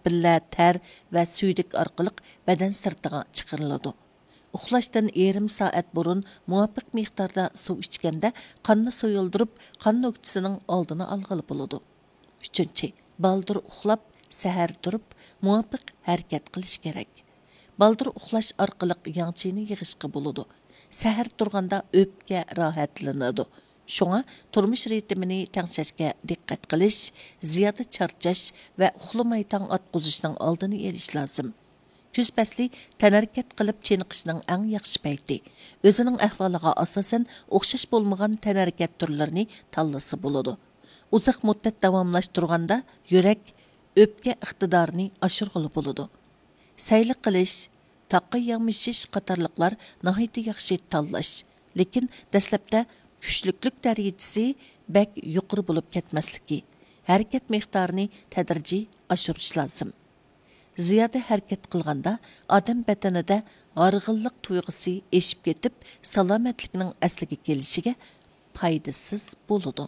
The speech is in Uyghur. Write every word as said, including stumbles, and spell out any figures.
بىللە تەر ۋە سۈيدۈك ئارقىلىق بەدەن سىرتىغا چىقىرىلىدۇ. ئۇخلاشتىن يېرىم سائەت بۇرۇن مۇۋاپىق مىقداردا سۇ ئىچكەندە، قاننى سۇيۇلدۇرۇپ، قان نۆكچىسىنىڭ ئالدىنى ئالغىلى بولىدۇ. ئۈچىنچى، بالدۇر ئۇخلاپ، سەھەر تۇرۇپ، مۇۋاپىق ھەرىكەت قىلىش كېرەك. بالدۇر ئۇخلاش ئارقىلىق ياڭ چىنى يىغىشقا بولىدۇ. سەھەر تۇرغاندا ئۆپكە راھەتلىنىدۇ. شۇڭا تۇرمۇش رىتىمىنى تەڭشەشكە دىققەت قىلىش، زىيادە چارچاش ۋە ئۇخلىماي تاڭ ئاتقۇزۇشنىڭ ئالدىنى ئېلىش لازىم. كۈز پەسلى تەنھەرىكەت قىلىپ چېنىقىشنىڭ ئەڭ ياخشى پەيتى. ئۆزىنىڭ ئەھۋالىغا ئاساسەن ئوخشاش بولمىغان تەنھەرىكەت تۈرلىرىنى تاللىسا بولىدۇ. ئۇزاق مۇددەت داۋاملاشتۇرغاندا يۈرەك، ئۆپكە ئىقتىدارىنى ئاشۇرغىلى بولىدۇ. سەيلە قىلىش، تاغقا يامىشىش قاتارلىقلار ناھايىتى ياخشى تاللاش، لېكىن دەسلەپتە كۈچلۈكلۈك دەرىجىسى بەك يۇقىرى بولۇپ كەتمەسلىكى، ھەرىكەت مىقدارىنى تەدرىجىي ئاشۇرۇش لازىم. زىيادە ھەرىكەت قىلغاندا ئادەم بەدىنىدە ھارغىنلىق تۇيغۇسى ئېشىپ كېتىپ، سالامەتلىكنىڭ ئەسلىگە كېلىشىگە پايدىسىز بولىدۇ.